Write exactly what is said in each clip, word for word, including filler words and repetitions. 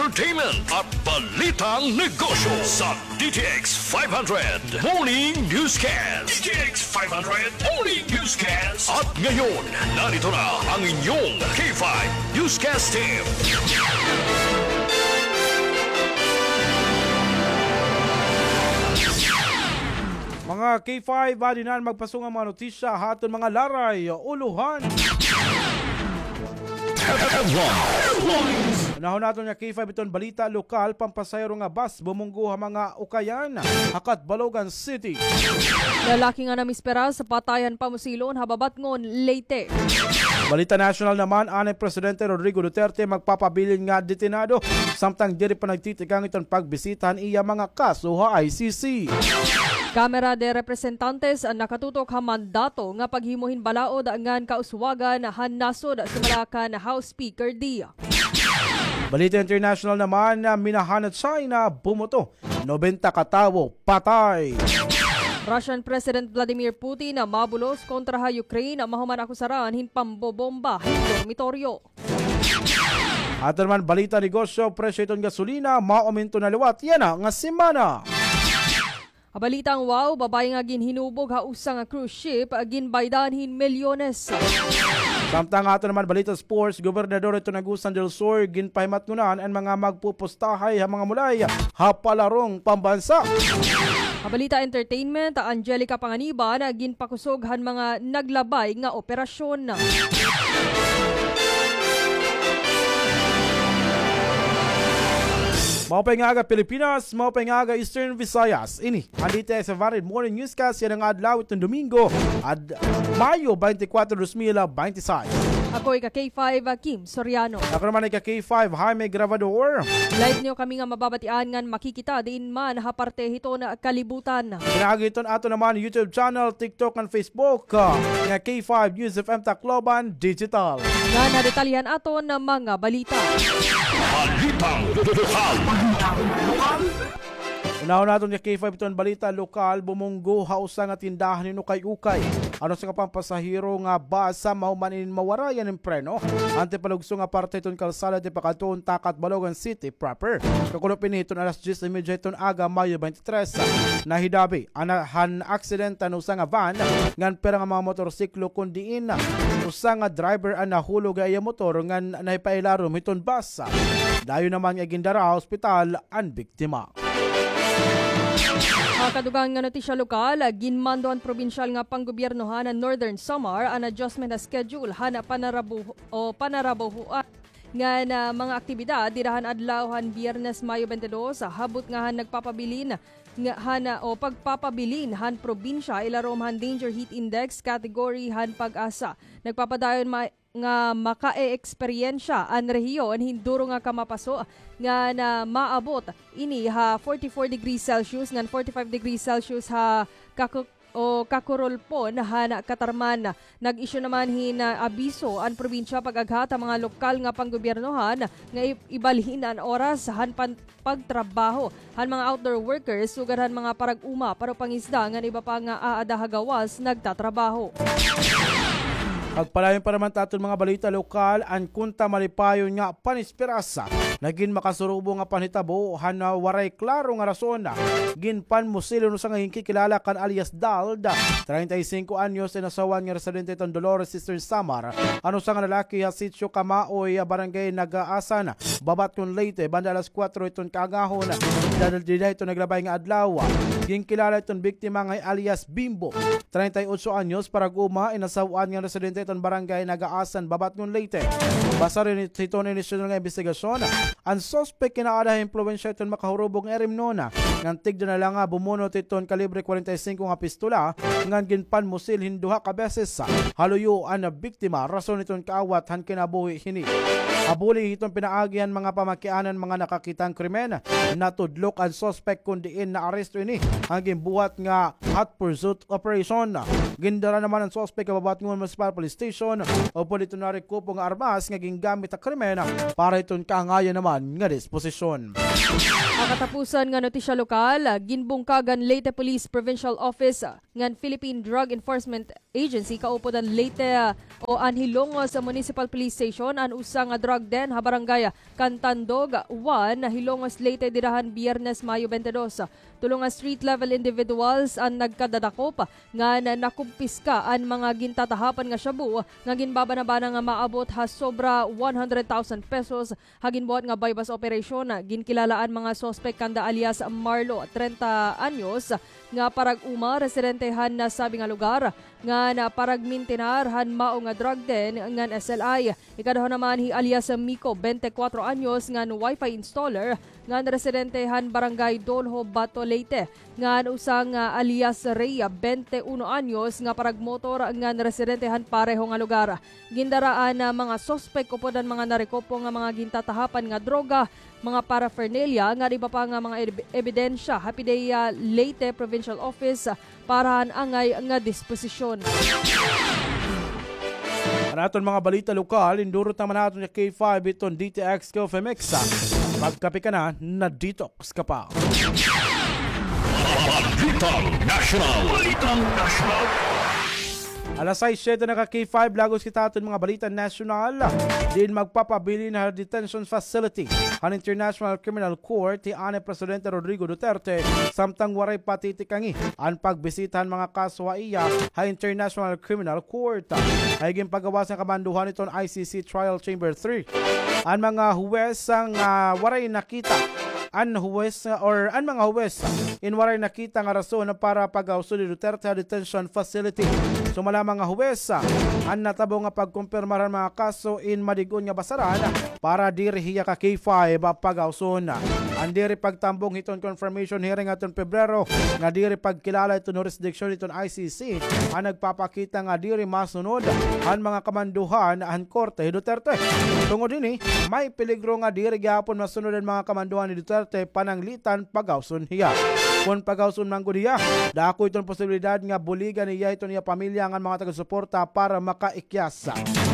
entertainment at balitang negosyo sa D T X five hundred Morning Newscast. D T X five hundred Morning Newscast. At ngayon, narito na ang inyong K five Newscast Team. Mga K five, adi na an magpasong nga mga notisya ha aton mga laray, ulohan. Headlines. Unahon naton nga K five iton balita lokal, pampasahero nga bus bumunggo ha mga ukayan ha Catbalogan City. Lalaki nga namispera sa patayan pamusilon ha Babatngon, Leyte. Balita national naman, anay Presidente Rodrigo Duterte magpapabilin nga detenado, samtang diri pa nagtitikang iton pagbisita han iya mga kaso ha I C C. Kamara de Representantes nakatutok ha mandato nga paghimo hin balaod ngan kauswagan han nasod, sumala kan House Speaker Dia. Balita international naman, minahan ha China, bumoto, nobenta ka tawo patay. Russian President Vladimir Putin mabulos kontra ha Ukraine, mahuman akusaran hin pambobomba hin dormitoryo. Aton naman balita negosyo, presyo iton gasolina mauminto na liwat yana nga semana. Ha balitang wow, babaye nga ginhinubog ha usa nga cruise ship, ginbaydan hin milyones. Samtang aton naman balita sports, gobernador iton Agusan del Sur, ginpahimatngonan an mga magpupustahay ha mga mulay ha palarong pambansa. Ha balita entertainment, Angelica Panganiban, ginpakusog han mga naglabay nga operasyon. Maupay nga aga, Pilipinas, maupay nga aga, Eastern Visayas. Ini an D T X five hundred Morning Newscast yana nga adlaw iton Domingo, ad-, Mayo twenty-four, dos mil twenty-six. Ako ika K five, Kim Soriano. Ako naman ika K five, Jaime Grabador. Live niyo kami nga mababatian ngan makikita diin man ha parte hiton kalibutan. Pinaagi hiton aton naman YouTube channel, TikTok, ngan Facebook, ah, nga K five News F M Tacloban Digital. Ngan ha detalye han aton mga balita. Balitang lokal. Unahon naton nga K five iton balita lokal, bumunggo ha usa nga tindahan hin ukay-ukay an usa ka pampasahero nga bus, mahuman ini mawarayan hin preno. Anti palugso nga parte hiton kalsada tipakadto ha Catbalogan City proper. Kakulop ini hiton alas diyes y media hiton aga, Mayo twenty-three. Nahidabi an, han aksidente an usa nga van ngan pira nga mga motorsiklo, kon diin usa nga driver an nahulog ha iya motor ngan nahipailarom hiton bus. Dayon naman nga gindara ha ospital an biktima. Ha kadugang nga notisya lokal, ginmando han probinsyal nga panggobyernohan han Northern Samar an adjustment ha schedule han panarabuho-, o panarabuhoan ngan mga aktibidad dida han adlaw han Biyernes, Mayo twenty-two, habot nga han nagpapabilin nga han, o pagpapabilin han probinsya ilarom han Danger Heat Index category han PAGASA. Nagpapadayon ma-, nga makaeeksperyensya an rehiyon hin duro nga kamapaso ngan maabot ini ha forty-four degrees Celsius ngan forty-five degrees Celsius ha Kaku-, o Kakurulpon han Catarman. Nag-issue naman hin, ah, abiso an probinsya pag-aghat ha mga lokal nga panggobyernohan nga i-, ibalhin an oras han pan-, pagtrabaho han mga outdoor workers, sugad han mga parag-uma, paro-pangisda ngan iba pa nga aada ha gawas nagtatrabaho. Pagpadayon pa naman ta aton mga balita lokal, an kontra malipayon nga panisperasa nga ginmakasurubong nga panhitabo han, ah, waray klaro nga rason, ah, ginpanmusil hiton usa nga ginkikilala kan alias Dald, treinta y cinco anyos, inasawan nga residente hiton Dolores, Eastern Samar, an usa nga lalaki ha Sitio Kamaoy, ah, Barangay Nagaasan, Babatngon, Leyte, banda alas kuwatro hiton kaagahon. Dida, dida hiton naglabay nga adlaw, ginkilala hiton biktima nga alias Bimbo, treinta y ocho anyos, parag-uma, inasaw-an nga residente hiton Barangay Nagaasan, Babatngon, Leyte. Basar hiton inisyonal nga imbestigasyon, an suspek kinaada ha impluwensya hiton makahurubog nga irimnon, ngan tigda na la nga bumunot hiton kalibre kwarenta y singko nga pistola, ngan ginpanmusil hin duha ka beses ha luyo an biktima, rason hiton kaawat han kinabuhi hini. Habuli hiton pinaagi han mga pamakianan, mga nakakita han krimen, natudlok an suspek kon diin naaresto ini han ginbuhat nga hot pursuit operation. Gindara naman an suspek ha Babatngon Municipal Police station upod iton narekupo nga armas nga gingamit ha krimen para hiton kaangayan naman nga disposisyon. Ha katapusan nga notisya lokal, ginbungkag han Leyte Police Provincial Office ngan Philippine Drug Enforcement Agency kaupod han Leyte, ah, o an Hilongos Municipal Police Station an usa nga drug den ha barangay Cantandog one, Hilongos, Leyte, dida han Biyernes, Mayo twenty-two. Tulo nga street level individuals an nagkadadakop ngan nakumpiska an mga gintatahapan nga shabu nga ginbabanabana nga maabot ha sobra one hundred thousand pesos. Ha ginbuhat nga buy-bust operation, ginkilala an mga suspek kanda alias Marlo, trenta anyos, nga parag-uma, residente han nasabi nga lugar, ngan paragmintinar han mao nga drug den ngan S L I. Ikaduha naman hi alias Miko, twenty-four anyos, ngan wifi installer, ngan residente han Barangay Dolho, Bato, Leyte, ngan usa nga alias Rhea, twenty-one anyos, nga paragmotor ngan residente han pareho nga lugar. Gindara an mga suspek upod an mga narekopo nga mga gintatahapan nga droga, mga paraphernalia, ngan iba pa nga mga eb-, ebidensya ha PDEA Leyte Provincial Office para han angay nga disposisyon. An aton mga balita lokal, indurot naman naton nga K five iton D T X Coffee Mix. Pagkape ka na, na-detox ka pa. Balitang Nasyonal. Balitang Nasyonal. Alas sais siyete na ka K five, lagos kita ha aton mga balita nasyonal. Diin magpapabilin ha detention facility han International Criminal Court hi anay Presidente Rodrigo Duterte, samtang waray pa titikangi an pagbisita han mga kaso ha iya ha International Criminal Court. Hay ginpagawas nga kamandohan iton I C C Trial Chamber three an mga huwes nga waray nakita an huwes nga, or an mga huwes in waray nakita nga rason para pagawson ni Duterte ha detention facility. Sumala mga huwes, an natabo nga pagkumpirmar han mga kaso in madig-on nga basaran para diri hiya ka K five pagawson. An diri pagtambong hiton confirmation hearing hadton Pebrero nga diri pagkilala hiton jurisdiction hiton I C C an nagpapakita nga diri masunod han mga kamandohan han korte hi Duterte. Tungod hini, may peligro nga diri gihapon masunod an mga kamandohan ni Duterte pananglitan pagawson hiya. Kon pagawson man gud hiya, dako iton posibilidad nga buligan hiya hiton iya pamilya ngan mga taga-suporta para makaikyas.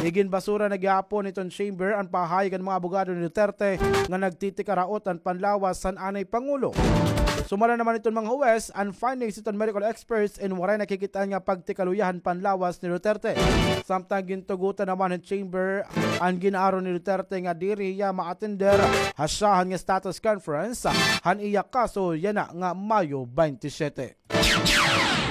Iginbasura na gihapon hiton chamber an pahayag han mga abogado ni Duterte nga nagtitikaraot an panlawas han anay pangulo. Sumala naman hiton mga huwes, an findings hiton medical experts in waray nakikit-an nga pagtikaluya han panlawas ni Duterte. Samtang gintugotan naman han chamber an gin-aro ni Duterte nga diri hiya ma-attender ha syahan nga status conference han iya kaso yana nga Mayo twenty-seven.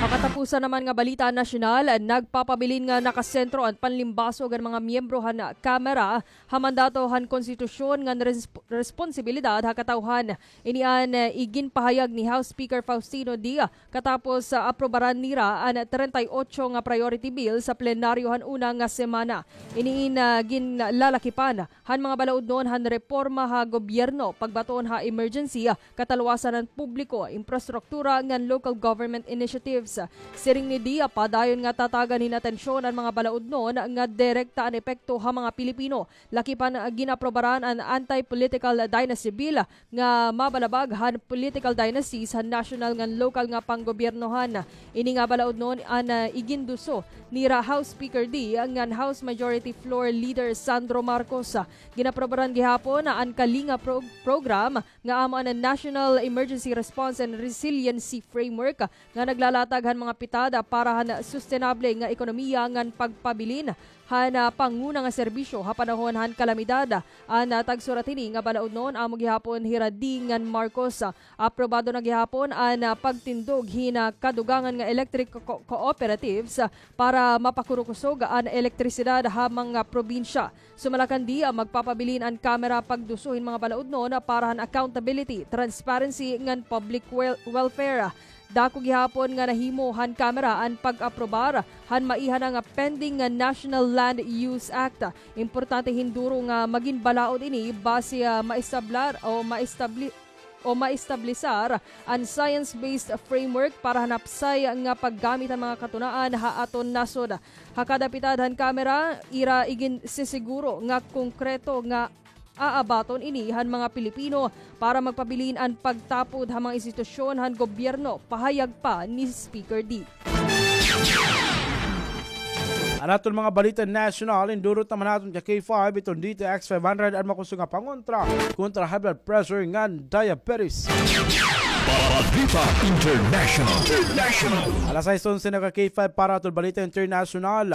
Ha katapusan naman nga balita nasyonal, nagpapabilin nga nakasentro an panlimbasog han mga miyembro han Kamara ha mandato han konstitusyon ngan resp-, responsibilidad ha katawhan. Ini an, eh, iginpahayag ni House Speaker Faustino Dia katapos, ah, aprobaran nira an treinta y ocho nga priority bill sa plenaryo han una nga semana. Ini in, ah, ginlalakipan han mga balaudnon han reforma ha gobyerno, pagbaton ha emergency, ah, katalwasan han publiko, infrastruktura ngan local government initiatives. Siring ni Dia, padayon nga tatagan hin atensyon an mga balaudnon nga direkta an epekto ha mga Pilipino. Lakipan, ah, ginaprobaran an Anti-Political Dynasty Bill nga mabalabag han political dynasties han national ngan lokal nga panggobyernohan. Ini nga balaudnon an, ah, iginduso nira House Speaker Dia ngan House Majority Floor Leader Sandro Marcos. Ginaprobaran gihapon an Kalinga pro-, program nga amo an National Emergency Response and Resiliency Framework nga naglalatag han mga pitad para han sustenable nga ekonomiya ngan pagpabilin han, ah, panguna nga serbisyo ha panahon han kalamidad. An, ah, tagsurat hini nga balaudnon amo gihapon hira Dia ngan Marcos. Aprobado na gihapon an, ah, pagtindog hin, ah, kadugangan nga electric co-, cooperatives, ah, para mapakurukusog an elektrisidad ha mga probinsya. Sumala kan Dia, magpapabilin an Kamara pagduso hin mga balaudnon para han accountability, transparency ngan public wel-, welfare. Dako gihapon nga nahimo han Kamara an pag-aprobar han maiha na nga pending nga National Land Use Act. Importante hin duro nga magin balaod ini basi, ah, maestablar o maestabli-, o maestablisar an science-based framework para han hapsay nga paggamit han mga katunaan ha aton nasod. Ha kada pitad han Kamara, ira iginsisiguro nga konkreto nga aabaton ini han mga Pilipino para magpabilin an pagtapod ha mga institusyon han gobyerno, pahayag pa ni Speaker Dia. An aton mga balita nasyonal, indurot naman naton ka K five iton D T X five hundred, an makusog nga pangontra kontra high blood pressure ngan diabetes. Balita International. International. Alas sais onse na ka K five para aton balita internasyonal.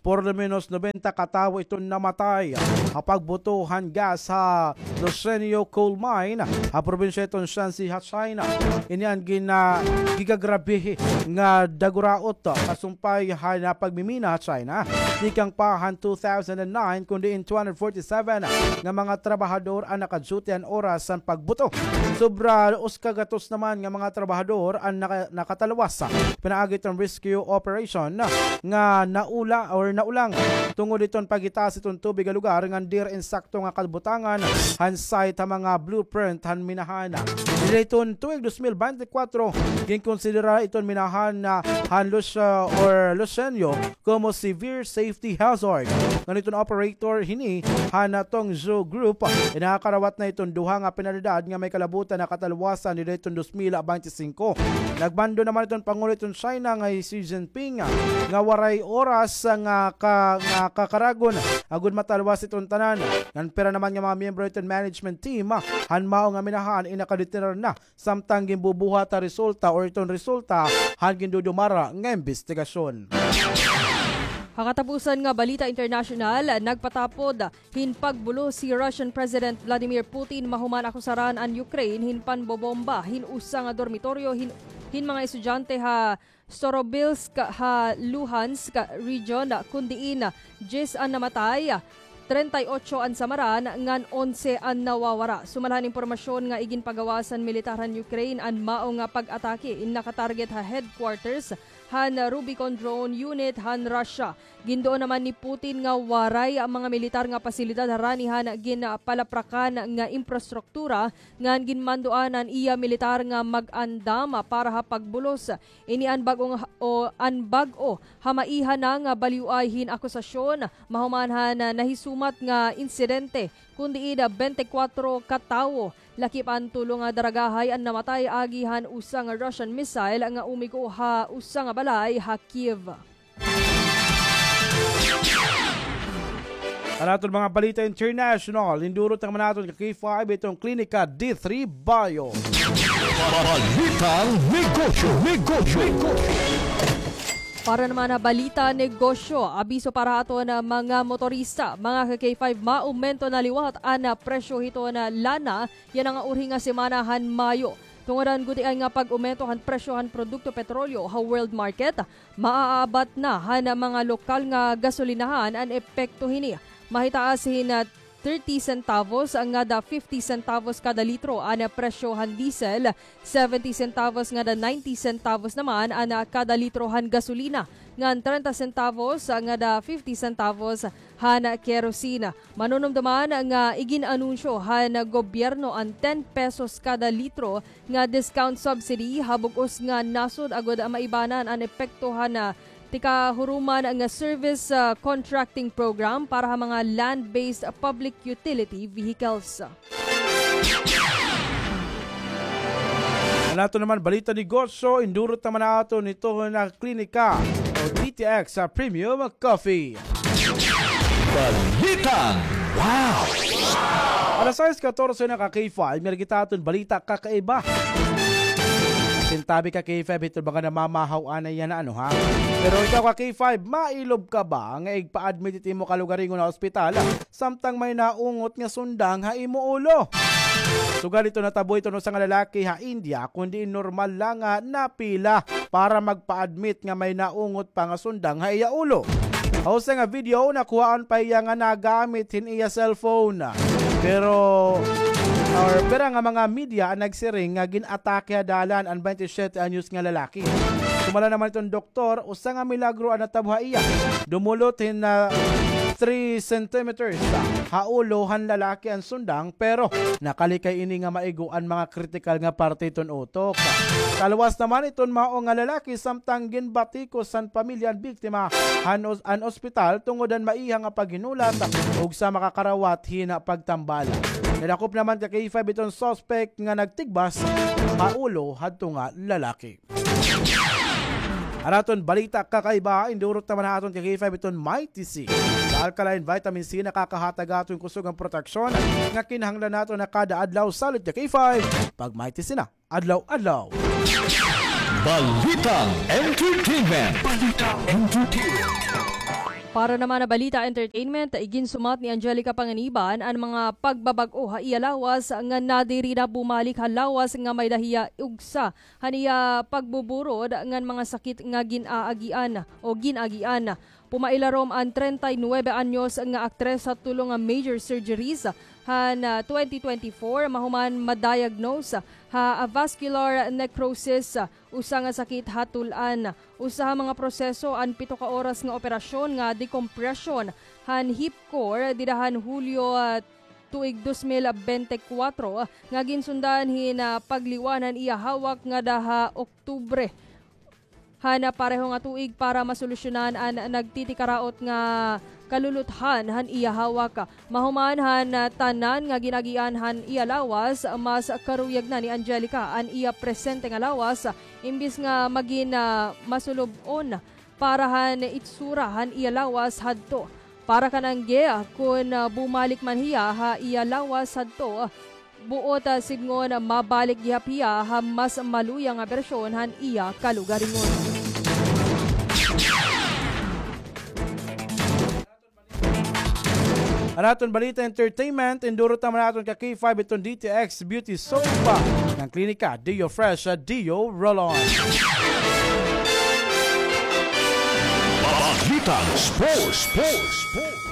Por lo menos nobenta ka tawo iton namatay ha pagbuto han gas ha Lusenyo Coal Mine ha probinsya iton Shanxi ha China. Ini an gina-, gigagrabehi nga daguraot kasumpay han pagmimina ha China. Tikang pa han two thousand and nine, kun diin two hundred forty-seven nga mga trabahador an naka-duty han oras han pagbuto. Sobra usa ka gatos naman nga mga trabahador an naka-, nakatalwas pinaagi iton rescue operation nga naula or naulang tungod iton pagitaas iton tubig ha lugar ngan diri insakto nga kabutangan han site ha mga blueprint han minahan. Dida hiton tuig dos mil bente kwatro, ginkonsidera iton minahan han Lucia or Lusenyo komo severe safety hazard. Ngan iton operator hini han Tongzhou Group, nakakarawat na iton duha nga penalidad nga may kalabutan nga katalwasan dida hiton dos mil bente singko. Nagmando naman iton Pangulo iton China nga hi Xi Jinping nga waray oras nga ka-, nga kakaragon agod matalwas iton tanan. Ngan pira naman nga mga miyembro iton management team han mao nga minahan in nakadetener na samtang ginbubuhat ha resulta or iton resulta han gindudumara nga imbestigasyon. Ha katapusan nga balita internasyonal, nagpatapod hin pagbulos hi Russian President Vladimir Putin mahuman akusaran an Ukraine hin panbobomba hin usa nga dormitoryo hin, hin mga estudyante ha Storobilsk ha Luhansk region, kun diin diyes an namatay, trenta y ocho an samaran, ngan onse an nawawara. Sumala han impormasyon nga iginpagawas han militar han Ukraine, an mao nga pag-atake in nakatarget ha headquarters han Rubicon drone unit han Russia. Ginduon naman ni Putin nga waray mga militar nga pasilidad harani han ginpalaprakan nga imprastruktura ngan ginmandoan an iya militar nga mag-andam para ha pagbulos. Ini an bag-o nga, o an bag-o ha maiha na nga balyoay hin akusasyon mahuman han nahisumat nga insidente, kun diin bente kwatro ka tawo, lakip an tulo nga daragahay an namatay agi han usa nga Russian missile nga umigo ha usa nga balay ha Kyiv. An aton mga balita international, indurot naman naton ka K five iton Klinika D three Bio. Balitang negosyo, negosyo, negosyo. Para naman ha balita negosyo, abiso para ha aton mga motorista, mga ka K five, maumento na liwat an presyo hiton lana yana nga urhi nga semana han Mayo. Tungod han gutiay nga pag-umento han presyo han produkto petrolyo ha world market, maaabat na han mga lokal nga gasolinahan an epekto hini. Mahitaas hin, ah, thirty centavos ngada fifty centavos kada litro an presyo han diesel, seventy centavos ngada ninety centavos naman an kada litro han gasolina, ngan trenta centavos ngada fifty centavos han kerosene. Manunumduman nga igin-anunsyo han gobyerno an ten pesos kada litro nga discount subsidy ha bug-os nga nasod agod maibanan an epekto han, ah, tikahuruman nga service, ah, contracting program para ha mga land-based public utility vehicles. An aton naman balita negosyo, indurot naman naton ito na klinika o D T X sa Premium Coffee. Balitang Wow! Alas sais katorse na ka K five, may kita aton balita kakaiba. Sintabi ka K five, ito ba ka namamahaw anay yan na ano, ha? Pero ikaw ka K five, mailob ka ba nga igpa-admit it imo kalugaringon ha ospital samtang may naungot nga sundang ha imo ulo? Sugad ito natabo ito no usa nga lalaki ha India, kundi normal lang nga napila para magpa-admit nga may naungot pa nga sundang ha iya ulo. Ha usa nga video, nakuhaan pa iya nga nagamit hin iya cellphone. Pero, or pira nga mga media an nagsiring nga gin-atake ha dalan an twenty-seven anyos nga lalaki. Sumala naman iton doktor, usa nga milagro an natabo ha iya. Dumulot hin, ah, three centimeters ha ulo han lalaki an sundang, pero nakalikay ini nga maigo an mga kritikal nga parte iton utok. Talwas naman iton mao nga lalaki samtang ginbatikos han pamilya an biktima han os-, an ospital tungod han maiha nga paghinulat ug sa makakarawat hin pagtambala. Nadakop naman ka K five iton suspect nga nagtigbas ha ulo hadto nga lalaki. An aton balita kakaiba, indurot naman ha aton ka K five iton Mighty C. Sa alkaline vitamin C, nakakahatag aton kusog an proteksyon nga kinahanglan naton ha kada adlaw. Salit ka K five, pag Mighty C na, adlaw-adlaw. Balitang entertainment. Balitang entertainment. Para naman ha balita entertainment, iginsumat ni Angelica Panganiban an mga pagbabag-o ha iya lawas nga nadiri na bumalik ha lawas nga may-ada hiya ugsa han iya pagbuburod ngan mga sakit nga gin-aagian o gin-agian. Pumailarom an treinta y nuebe anyos nga aktres ha tulo nga major surgeries han, ah, twenty twenty-four, mahuman ma-diagnose ha avascular necrosis, usa nga sakit ha tul-an. Usa ha mga proseso an pito ka oras nga operasyon nga decompression han hip core dida han Hulyo, ah, tuig dos mil bente kwatro, nga ginsundan hin, ah, pagliwan han iya hawak ngada ha Oktubre. Han, ah, pareho nga tuig para masolusyonan an nagtitikaraot nga kaluluthan han iya hawak. Mahuman han, ah, tanan nga gin-agian han iya lawas, mas karuyag na ni Angelica an iya presente nga lawas, imbis nga magin, ah, masulub-on para han itsura han iya lawas hadto. Para kan Angge, kon, ah, bumalik man hiya ha iya lawas hadto, buot, ah, sidngon mabalik gihap hiya ha mas maluya nga bersyon han iya kalugaringon. An aton balita entertainment, indurot naman aton ka K five iton D T X Beauty Soap ngan Klinika Deo Fresh, ah, Deo Roll-On. Balitang sports, sports, sports.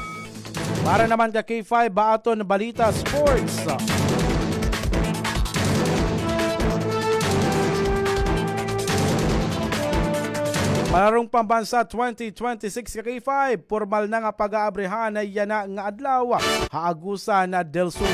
Para naman ka K five, ha aton balita sports. Palarong Pambansa twenty twenty-six ka K five, pormal na nga pag-aabrehan yana nga adlaw ha Agusan del Sur.